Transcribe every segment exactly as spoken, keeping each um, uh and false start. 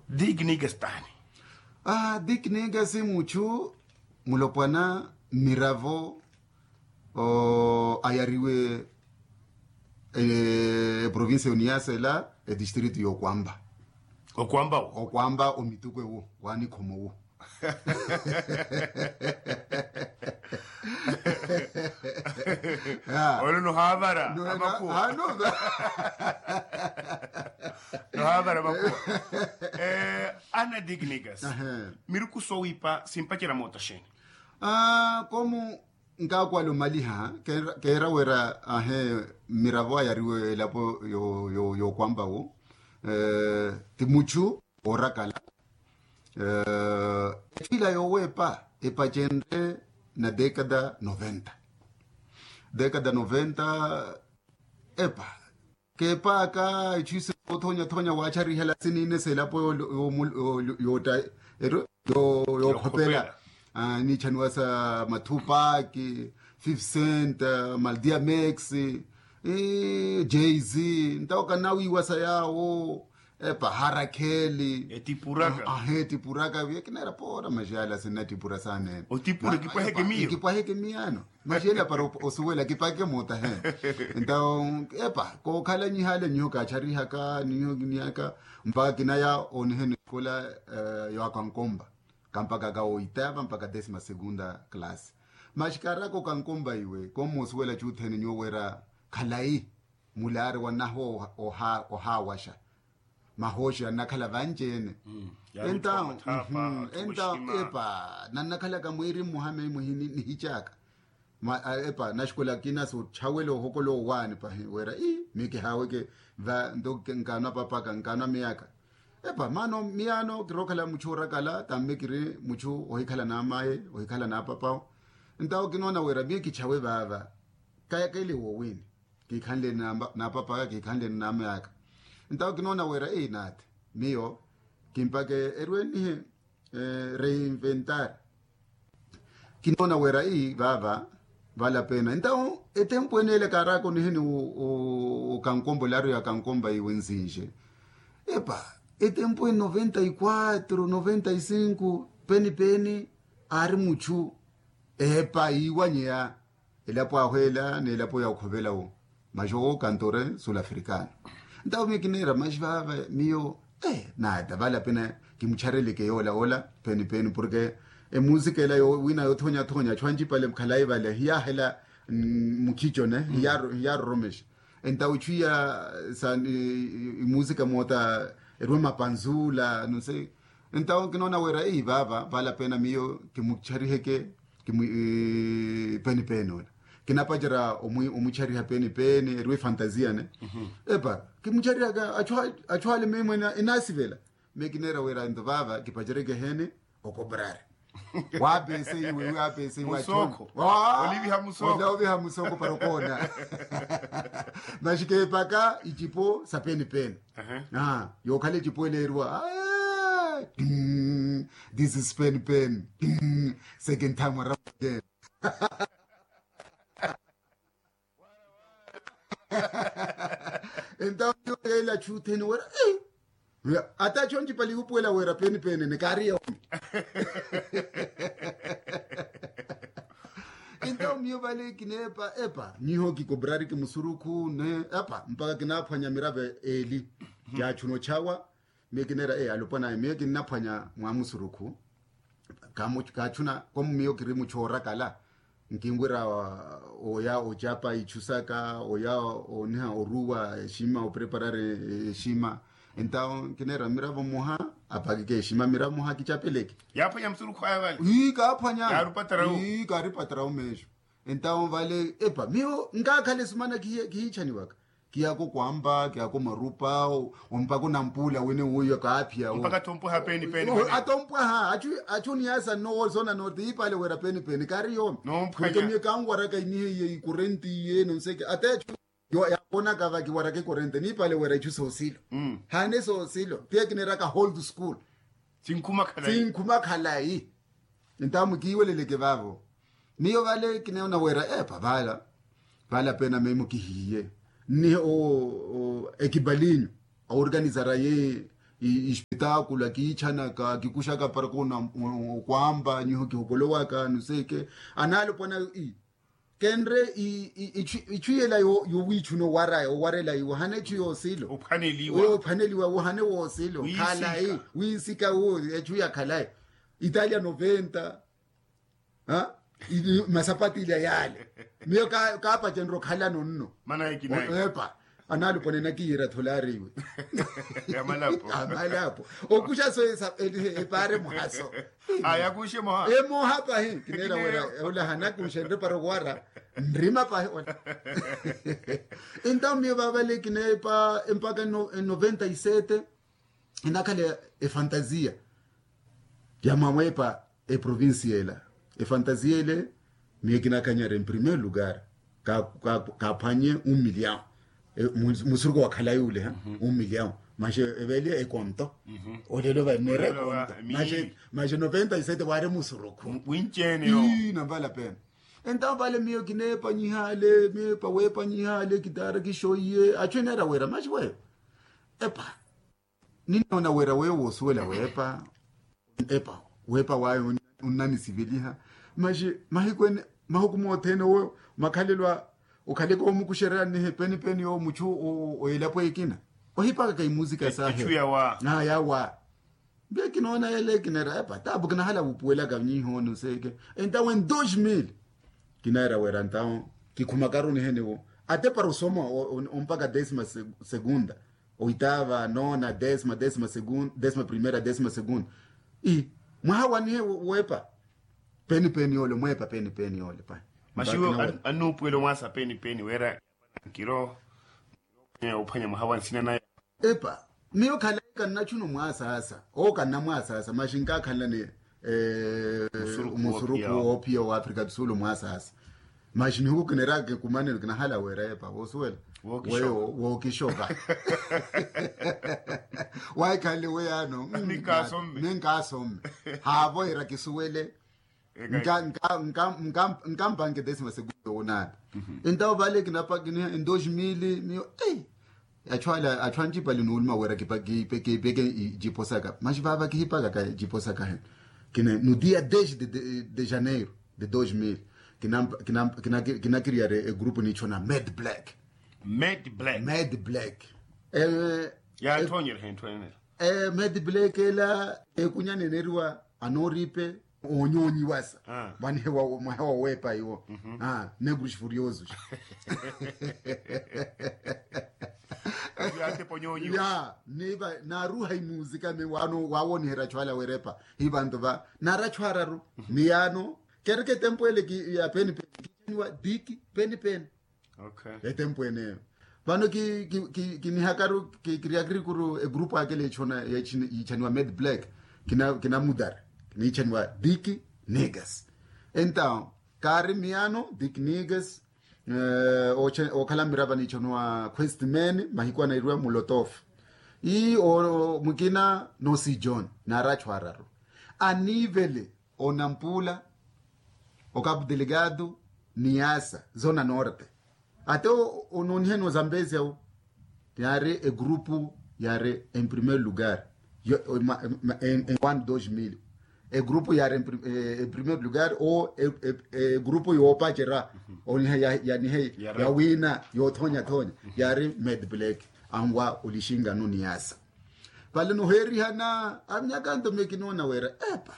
Diknikas taani? Ah, diknikas muchu mulopwana mmiravo ayariwe eprovincia yoniyasela, edistrito yokwamba. Okwamba wo? Okwamba omituku ewo wanikhomo wo. Olo nohavara amakuwa. Nohavara amakuwa. Ana diknikas, miruku sowipa simpacerya moota xeeni? Komu nkakwala omaliha, keera wera ahe mmiravo ayariwe elapo yokwamba wo, ti muchu orakala. Etthwila yowepa epacenre na dekada noventa. Dekada noventa epa kepaaka ichu isi othonya thonya wacharihela sinine selapo yotta yokhopela. Nichaniwa sa mathupaki, fifcent, maldiamex, jz. Ntawo kanawiwa sa yawo. Epa harakheli etipuraka. Ahe etipuraka vye kinera pora maxiyala sinatipura sanene. Otipura kipwaheke miyo kipwaheke miyano. Maxiyala para osuwela kipaheke moota he. Entawo epa kokhalanyiha ale nyiho kacharihaka nyiho kiniyaka mpaka kinaya oniheni esikola yoakankomba kampaka ka oitava mpaka desima segunda classe. Maxi karaka okankomba iwe kommoosuwela chuthene nyiwo wera khalayi mulaari wanaho ohawaxa. Mahooxi annakhala vanci-ene. Entawo epa nannakhalaka mwiiri mmoha meyi muhini nihicaka. Epa naxikola akina sochawela ohokola owaani pahi wera ii miyo kihaaweke va nto nkaanwa papaka nkaanwa miyaka. Epa maano miyaano kirookhala muchu orakala tamme kiri muchu ohikhala n'amaye ohikhala n'apapawo. Ntawo kinoona wira miyo kichawe vaava kayakele woowini kiikhanleni n'apapaka kiikhanleni n'amayaka. Ntawo kinoona wira eyi naati miyo kimpake erwenihe reinventar. Kinoona wira eyi vaava valapena ntawo etempu ene ele kaaraka oniheni okankombo laaru ya kankomba iwe nzinxe. Epa etempu ene noventa y quatro noventa y cinco peni peni aari muchu epa iiwanyeya elapo ahweela n'elapo ya okhovela wo maxi owo kantore sul africano. Ntawo miyo kineera maxi vaava miyo naata valapena kimuchareleke yoola ola peni peni porke emusika ela wina yoothonyathonya achu ancipale khalayi vale hiyahela mukhico ne hiyaroromexa. Entawo ichu iya sa imusika moota erwe mapanzula nonse. Entawo kinoona wira eyi vaava valapena miyo kimuchariheke kimu peni peni ola kinapacerya omuchariha peni peni erwe fantasia ne. Epa kimucharihaka achu ale meyi mwene enasivela. Miyo kineera wira nto vaava kipaceryeke hene okoprari waapese iwe waapese iwe achooko oliviha musoko para okoona. Maxi keepaka icipo sa peni peni. Yookhala ecipo eleeriwa this is peni peni. Second time around again. Entawo miyo yeela chutheni wira ata chonchipali yupuwela wira peni peni ne kaari yoomi. Entawo miyo vale kineepa epa nyiho kikoprari kimusurukhu ne epa mpaka kinaaphwanya miravo eeli. Yaachuna ochawa miyo kineera eyi alopwanaya miyo kinnaphwanya mwa musurukhu. Kaachuna komu miyo kiri muchu oorakala nkinwira oya ocapa ichu saka oya oniha oruwa exima opreparari exima. Entawo kineera miravo mmoha apakike exima miravo mmoha kichapeleke. Yaaphwanya musurukhu aya vale ii kaaphwanya. Ii kaaripatarawu meexo. Entawo vale epa miyo nkaakhala esumana kihiichaniwaka. Kiyaka okwampa kiyaka omarupa ompaka onampuula wene wuyo kaaphiya wo. Mpaka atompwaha peni peni. Atompwaha achu niyasa nnowo soona nooti iipale wira peni peni kaari yoomi. Porke miyo kanwaraka inihe iye ikorenti iye nonseke ata echu yaakonaka vakiwaraka ekorenti niipale wira ichu soosilo. Hane soosilo piya kineeraka hold school. Sinkhuma khalayi. Sinkhuma khalayi. Entawo mukiiweleleke vaavo. Miyo vale kinoona wira epa vala vala pena memo kihiye nnihe ekipalinyu aorganizara ye espetakulo akiitchanaka kikuxaka para kona okwamba nyiho kihokolowaka nuseke. Anaalopwana i kenre ichu yela yowiichuna owaraya owarela iwo hane echu yoosilo. Ophwaneliwa wohane woosilo khalayi winsika wo echu yakhalayi. Italia noventa masapati ilya yale miyo kaapacenre okhalano nno. Epa anaalupone nakiira tholari iwe amalapo okuxa so epaare muhaso. Emoha pahi kineera wera ola hanakuxenre para okuwara nrima pahi. Entawo miyo vavale kineepa empaka noventa y sete enakhala efantasia ya mwawepa eprovincia ela. Efantasia ele miyo kinakanyara en primeiro lugar kaaphwanye un milhão. Musuruku wa khalayi ule un milhão. Maxi eveliya ekonto olelo vanera ekonto. Maxi noventa y sete wari musuruku winceene yo. Namvala pena entawo vale miyo kineepanyiha ale miyo epawepanyiha ale kitara kixoiye achu eneera wera maxi weyo epa ninoona wira weyo woosuwela weepa epa weepa wayo onnanisiveliha. Maxi mahiku ene mahuku mothene owo makhalelo a okhaleke omukuxererya nnihe penipeni yo muchu o elapo ekina ohipakaka imusika sahe yawa. Mpe kinoona yele kineera epa tapu kinahala wupuwelaka nyihooni oseeke entawo en dos mil kinaera wira ntawo kikhumakaru niheniwo ate para osoma ompaka desima segunda oitava nona desima desima primera desima segunda. Mwaha wanihe wepa penipeni ole mwepa penipeni ole pa maxiwo annuupuwela omwaasa penipeni wira nkiro ophwanya mwaha wa nsina naye. Epa miyo khalayi kannachuna omwasaasa owo kannamwasaasa maxi nkakhanlani musuruku woophiya wa africa do sul omwasaasa. Maxi nihuku kineraka kikumanelo kinahala wira epa woosuwela weyo wookixoka. Wahikhanle weyano ninkaasomme haavohera kisuwele nkampanke desima segunda owonaani. Entawo vale kinapakiniha en dos mil miyo ei achu ale achu anjipali nuuluma wira kipeke ijipo saka maxi vava kihipakaka ijipo saka heno kine no dia dez de janeiro de dos mil kinakiriyari egrupu niichona mad black. Mad black mad black. Mad black ela ekunya neneriwa anooripe oonyoonyiwasa vanihewa mwahewa weepa iwo negros furiosos. Ya naaruha imuzika mi wano waawoniherya achwala werepa hi vantu va nara achwararu. Ni yano kereke etempo ele ya penipeni kichaniwa diki penipeni. Etempo eneyo vano kinihakaru kiriyakirikuru egrupu akele yichaniwa mad black kinamudara kinichaniwa diki niggas. Entawo kaari miyano diki niggas okhala mmirava nichoniwa quest man mahiku anairiwa mulotofu. Ii mukina nosi john naari achwararu anivele onampula okapu delegado ni asa zona norte. Ate onooniheni ozambezia wo yaari egrupu yaari en primeiro lugar en quando dos mil egrupu yaari en primeiro lugar o egrupu yoopacera oniha yanihe yawina yoothonyathonya yaari mad black anwa olixingano ni asa. Vale noheerihana avinyakanto miyo kinoona wira epa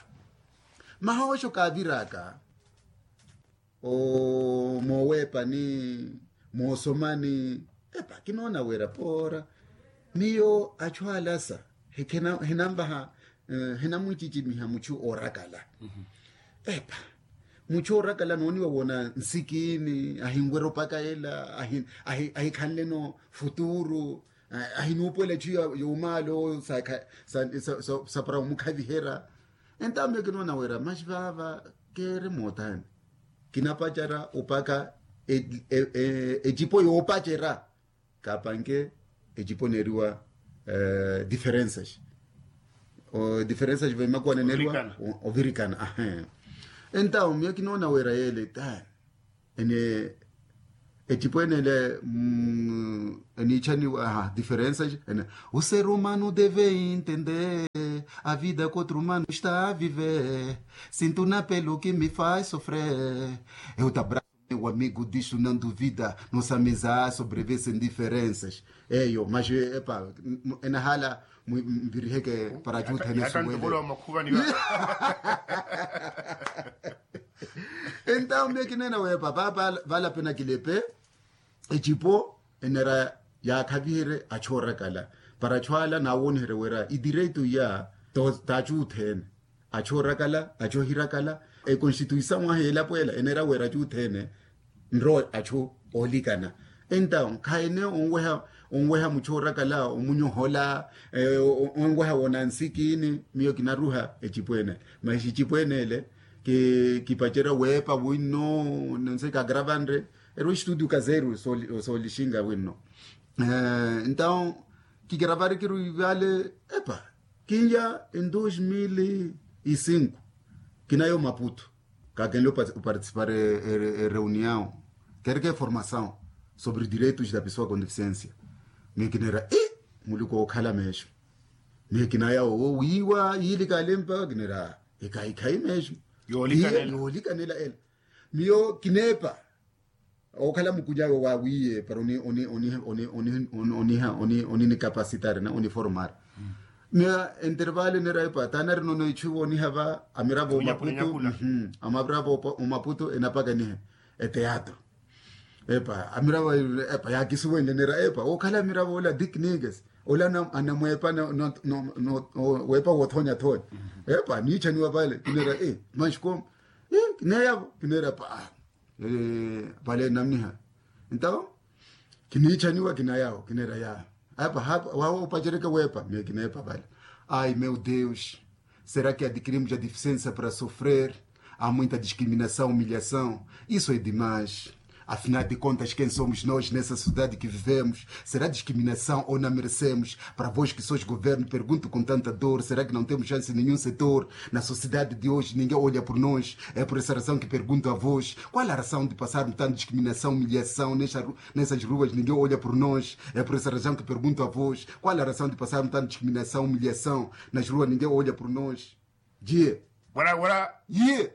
mahooxo kaaviraka mooweepani moosomani epa kinoona wira poora miyo achu alasa hinanvaha hinamwichichimiha muchu oorakala. Epa muchu oorakala nooniwa wona nsikini ahinwerya opaka ela ahikhanleno futuru ahinuupuwela echu yomaalo sapara omukhaviherya. Entawo miyo kinoona wira maxi vaava keere moothani kinapacara opaka ecipo yoopacera kaapanke ecipo neeriwa diferensas diferensas vemakuwa neneriwa ovirikana ahe. Entawo miyo kinoona wira yeele ene Ecipo ene ele eniichaniwa diferensa ene. O ser humano deve entender a vida que outro humano está a viver. Sinto na pelo que me faz sofrer. Eu te abraço meu amigo disto não duvida. Nossa amizade sobrevive sem diferenças. Eyo mas epa enahala mviriheke para juthene suwele. Entawo miyo kineena weepa vala pena kilepe. Ecipo enera yaakhaviherye achu orakala para achu ala naawooniherye wira idireito iya. Taachu othene achu orakala achu ohirakala. Ekonstituisaw ahi elapo ela enera wira achu othene nro achu oolikana. Entawo khaene onweha muchu orakala omunyohola onweha wonansikini. Miyo kinaruha ecipo ene ele mas ecipo ene ele kipacerya weepa winno. Nonse kagravanre erwa estudio kazeru soolixinga winno. Entawo kigravari kiruivale epa kinya en dos mil e cinco kinayo maputo kakenle oparticipar ereunião kereke formação sobre direitos da pessoa com deficiência. Miyo kinera i muluku ookhala meesho. Miyo kinaya owo wiiwa yiili kalempa kinera ekahikhayi meesho yoolikanela ela. Miyo kineepa okhala mukunya awe waawiiye para oninikapasitari na oniformari. Miyo entervale nera epa taanari nono ichu iwo oniha va amiravo omaputu. Amiravo omaputu enapaka enihe eteatro. Epa amiravo epa yaakisuwenle nera epa okhala amiravo ola diknikes ola anamweepa weepa woothonya thonya. Epa niichaniwa vale kinera e manxi koma kineyavo kinera epa vale namniha. Entawo kiniichaniwa kinayawo kinera ya epa wawo opacereke weepa miyo kineepa vale. Ai meu deus, será que adquirimos a deficiência para sofrer? Há muita discriminação, humilhação. Isso é demais. Afinal de contas quem somos nós nessa sociedade que vivemos? Será discriminação ou não merecemos? Para vós que sois governo pergunto com tanta dor, será que não temos chance em nenhum setor? Na sociedade de hoje ninguém olha por nós. É por essa razão que pergunto a vós, qual a razão de passarmos tanta discriminação, humilhação nessas ruas ninguém olha por nós? É por essa razão que pergunto a vós, qual a razão de passarmos tanta discriminação, humilhação nas ruas ninguém olha por nós? Jie. Ye.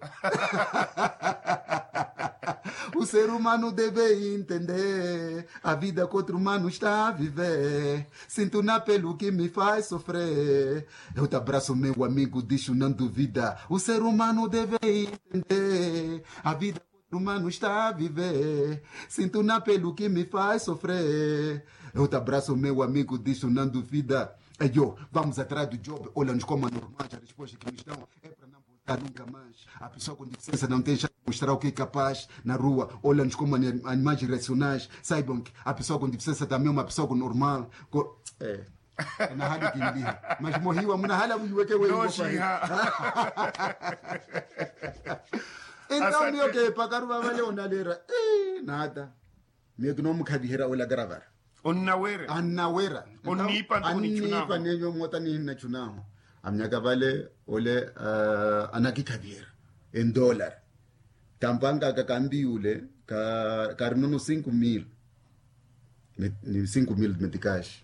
O ser humano deve entender a vida que outro humano está a viver. Sinto na pelo que me faz sofrer. Eu te abraço meu amigo disto não duvida. O ser humano deve entender a vida que outro humano está a viver. Sinto na pelo que me faz sofrer. Eu te abraço meu amigo disto não duvida. Eyo vamos atrás do job ola nxikoma normal a resposta que nos dão é para não voltar nunca mais. A pessoa com deficiência não tem chance de mostrar o que é capaz na rua. Ola nxikoma animais irracionais, saibam que a pessoa com deficiência também é uma pessoa com normal. Enahali kinliha mas mohiwa munahala muhiweke weyo. Entawo miyo keepakaru vavale onalera nada. Miyo kinoomukhaviherya ola karavara. Onnawera. Annawera. Onniipa nto onichunaho. Anniipa nenyo moota nihinna chunaho. Amyaka vale ole anakikhaviherya endolar. Tampanga aka kanliyule karinono cinco mil. Ni cinco mil metikaxi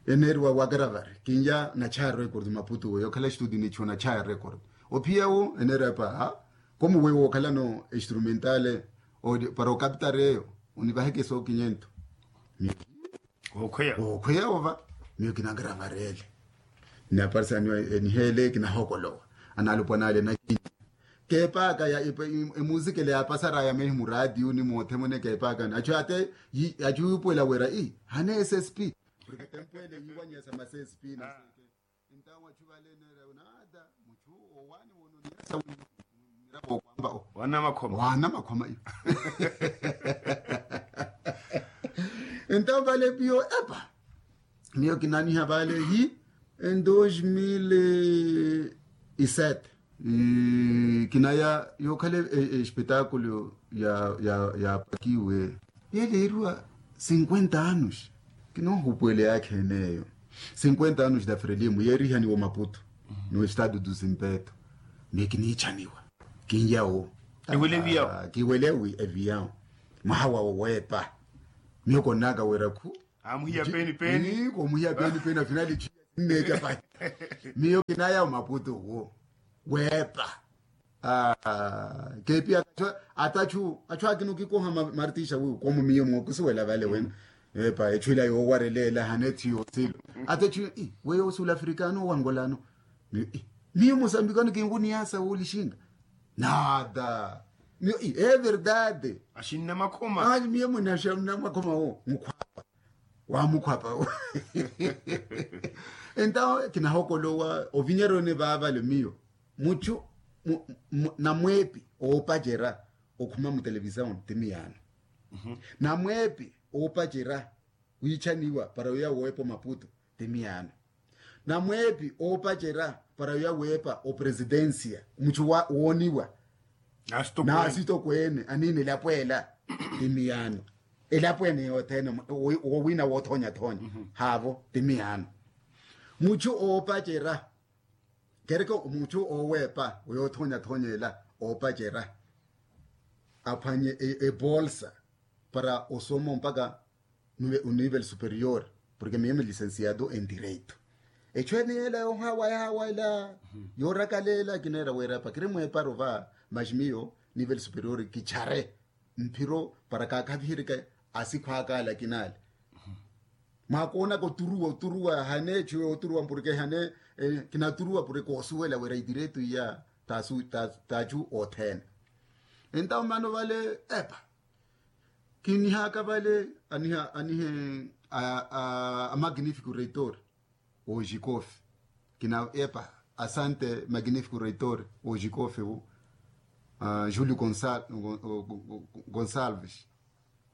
eneeriwa wakaravari kinya nachaya record maputu weyo okhala estudio nichuwa nachaya record. Ophiya wo eneeriwa epa ha komu weyo wookhalano instrumentale para okapitari eyo onivaheke sookinyento. Okhweya ova miyo kinakaravarele. Naparisaniwa eniheele kinahokolowa analupwa nale nakinya keepaaka ya emuzikele yaapasaraya mehi muraatiyo ni moothemone keepaakani achu ate achu yuupuwela wira ii hane ssp. Porque tempuwele yiiwanyesa ma ssp na seke. Entawo achu vale neera nada muchu owaani wono niyesa wino miravo okwamba o waana makhoma iyo. Entawo vale piyo epa miyo kinaniha vale hi en dos mil e sete kinaya yookhala espetakulo yaapakiwe yeeleeriwa cinquenta anos. Kinoohupuwele yaakha eneeyo cinquenta anos da frelimo yeerihaniwa omaputu no estado do zimpeto. Miyo kiniichaniwa kinya wo kiwele eviyawo. Mwaha wawo weepa. Miyo konnaka wira khu. Amuhiya peni peni. Komuhiya peni peni afinali. Nneeca pahi. Miyo kinaya omaputu wo weepa. Keepi atachu atachu akina okikoha martixa wiwo komu miyo mookusuwela vale wena. Epa echu ila yoowarelela hane ethi yoosilo. Atachu weyo sulafrikano wangolano. Miyo mosambikano kinkuniyasa wolixinga. Nada. Miyo e verdade. Axinna makhoma. Miyo mwene axinna makhoma wo mukhwapa. Wamukhwapa wo. Entawo kinahokolowa ovinyeroni vaavale miyo muchu namweepi oopacerya okhuma mutelevisaoni ti miyaano. Namweepi oopacerya wiichaniwa para wiya woweepa omaputu ti miyaano. Namweepi oopacerya para wiya weepa opresidência muchu wooniwa n'asitokweene aniina elapo ela ti miyaano. Elapo ene yothene wowiina woothonyathonya haavo ti miyaano. Muchu oopacerya kereke muchu ooweepa yoothonyathonya ela oopacerya aphwanye ebolsa para osoma mpaka onivel superior. Porke miyo milicensiado en direito. Echu ene ela yoohawa yahawa ela yoorakala ela kineera wira epa kiri mweeparo va maxi miyo nivel superior kichare mphiro para kaakhaviherike asikhwaaka ala kinaale. Mwakoonaka oturuwa oturuwa hane echu yooturuwa porke hane kinaturuwa porke koosuwela wira idireto iya t'achu othene. Entawo mano vale epa kinihaka vale aniha anihe a magnifico reitor ojikofe kina epa asante magnifico reitor ojikofe wu julio gonsalves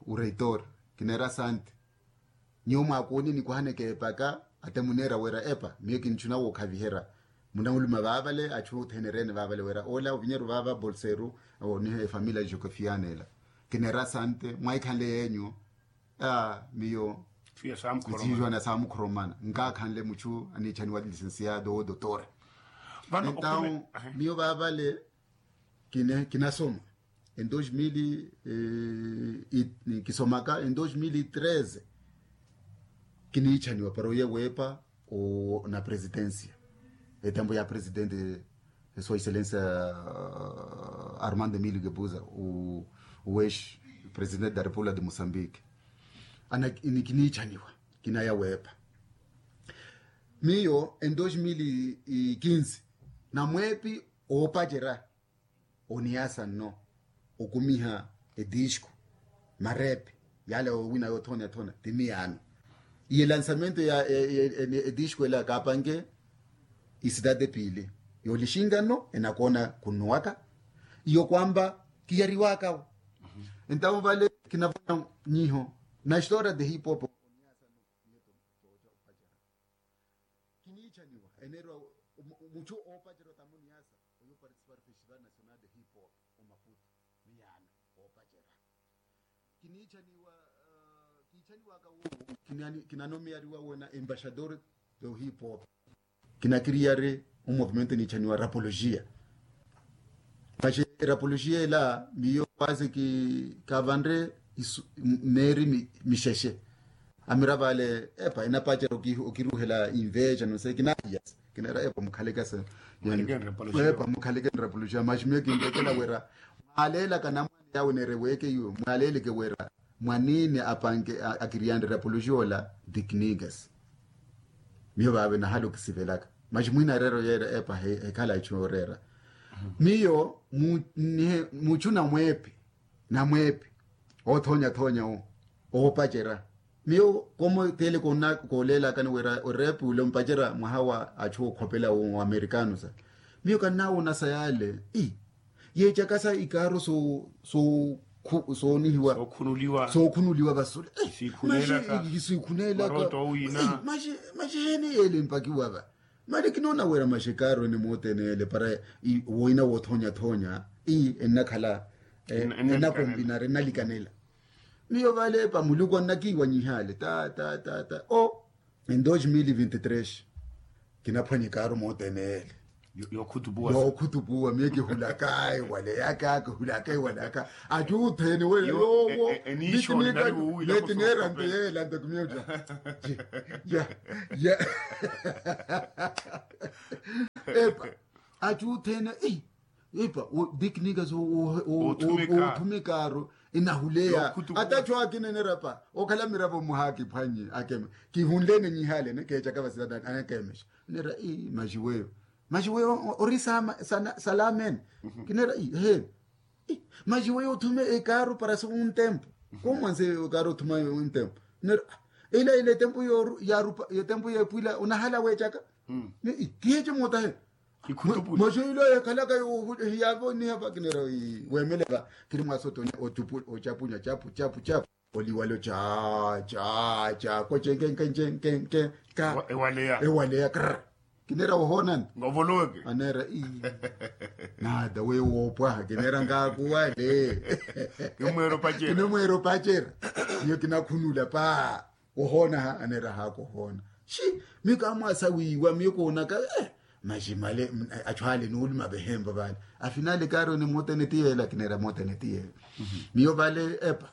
ureitor kinera sante. Nyo mwakooni nikuhaneke epaka ate munera wera epa miyo kinchuna wokhavihera. Munawuluma vavale achu othenerene vavale wera ola ovinyeru vava bolseru ni efamilia jokofiana ela kinera sante mwaikhanle yenyu. Miyo sijuana samukhoromana nkakhanle muchu anichaniwa licensiado o dotora. Entawo miyo vavale kinasoma en dos mil kisomaka en dos mil treze kiniichaniwa para oye weepa na presidencia etempo ya presidente sua excellencia armando emilio gebuza uweshi presidente da república de moçambique. Ana kiniichaniwa kinaya weepa miyo en dos mil quinze namweepi oopacerya oniyasa nno okumiha edisco marepe yala owina yothona yathona ti miyaano. Iye lansamento ya edisco ela kaapanke isidade piili yoolixinga nno enakoona khunnuwaka iyo kwamba kiyariwakawo. Entawo vale kinavona nyiho na história de hip hop. Kiniichaniwa enerwa muchu oopacerya otamuni yasa oyo participar festival nacional de hip hop omaputu miyaano oopacerya kiniichaniwa kiichaniwaka wuwo kinanomiyariwa wena embaixador do hip hop. Kinakiriyari omovimento eniichaniwa rapologia. Maxi erapologia ela miyo kwasi kavanre meeri mixexe amira vale epa enapacera okiruhela inveja nose kinaiya kinera epa mukhalekasa epa mukhalekeni rapologia maxi miyo kintekela wera mwaleelaka namwane yawe nereweeke iwe mwaleeleke wera mwaniini apanke akiriyanre rapologia ola diknigas. Miyo vaave nahala okisivelaka maxi mwina areera oyeera epa hekhala echu yooreera. Miyo muchu namweepi namweepi othonyathonya owo oopacerya miyo komo teele kooleelakani wira oreepi ule ompacerya mwaha wa achu okhopela wo amerikano sa miyo kannaawonasa yaale. Yeecakasa ikaaro soonihiwa sookhunuliwa vasule. Siikhuneelaka maxi heeni yeele mpakiwa va mali kinoona wira maxi ikaaro ene mootene yeele para woina woothonyathonya ennakhala ennakompinar ennalikanela. Miyo vale epa muluku annakiiwanyihaale ta ta ta ta o en dos mil vinti tres kinaphwanya ikaaro mootene yeele Yookhutupuwa miyo kihulaka ewaleyaka kihulaka ewaleyaka. Ati othene weyo yoowo. Neti neera nte yeela nte kumiyo ta. Ya ya ya. Epa. Ati othene. Epa. Teknika soothumikaaru enahuleya. Ata cho akineneera pa okhala miravo mwaha akiphwannye akeme. Kihunleene nyihalene keechaka vasila anakeemexa. Neera ii maxi weyo. Maxi weyo ori salaamene. Kineera ii eheeni. Maxi weyo othume ekaaru para si wuntempu. Koomwanse ekaaru othuma wuntempu. Neera ila ila etempu yooru yaarupa etempu yeepwila onahala weechaka. Kiheece mootahela. Maxi ila yekhalaka. Hiyaavo niha vakinera weemele va. Kiri mwasoto ochapunya chapu chapu chapu oliwalo cha cha cha koche nkenkenkenkenka. Ewaleya krr. Kinera wohoonani. Aneera ii. Nada weyo woopwaha kinera ngaakuwale. Kinimweera opacera. Niyo kinakhunula pa. Wohoonaha aneera haaka ohoona. Xi. Miyo kaamwaasa wiiwa miyo koonaka. Maxi male achu ale nuuluma vehempa vale. Afinale kaari onimutene ti yeela kinera mutene ti yeela. Miyo vale epa.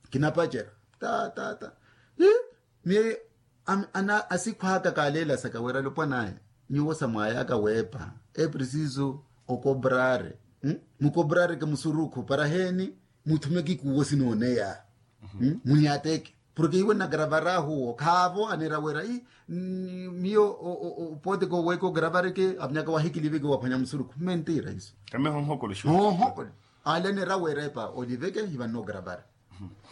Kinapacera. Ta ta ta. Miyo ana asikhwaaka kaaleelasaka wira lupwanaya. Nyuwo samwayaka weepa. Eprisiso okobrare. Mukobrareke musurukhu para heeni. Muthume kikuwo sinooneya. Muniyateke. Porke iwe nnagravareha huwo khaavo aneera wira ii. Miyo opoteke oweeke ogravareke avinyaka wahikiliveke waphwanya musurukhu mentira iso. Kameho nhokolo xo. Ohokolo. Ale aneera wira epa oliveke hivanno ogravare.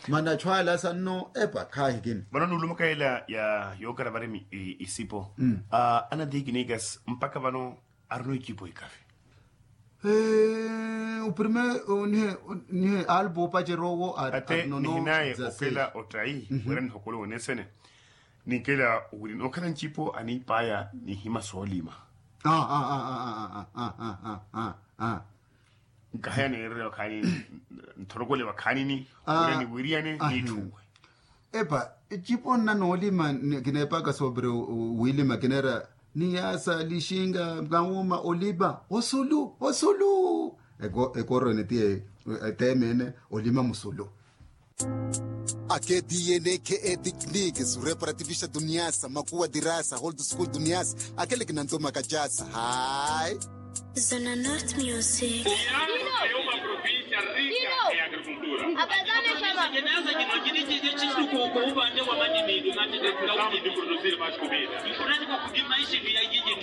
Mana achu ala sanno epa khaahikini. Vano nuulumaka ela ya yoogravare isipo. Ana tekinikas mpakha vano arino icipo ikavi. Oprime nihe alpo opacera owo. Ate nihinaye okela ottayi wira nihokole wonesene. Nikela wiri nookhala ncipo aniipaya nihima soolima. Nkahaya neererya okhaani nthorokole vakhaanini wira niwiriyane niitthuwe. Epa ecipo nna noolima kineepaka sobre wiilima kineera niyaasa lixinga nkauma olima osulu osulu. Ekoroni ti eteemene olima musulu. Ake diyene khe etikniki sure para tivixa duniasa makuwa dirasa holdo school duniasa. Akele kinantomaka jasa hayi. Zona North Music.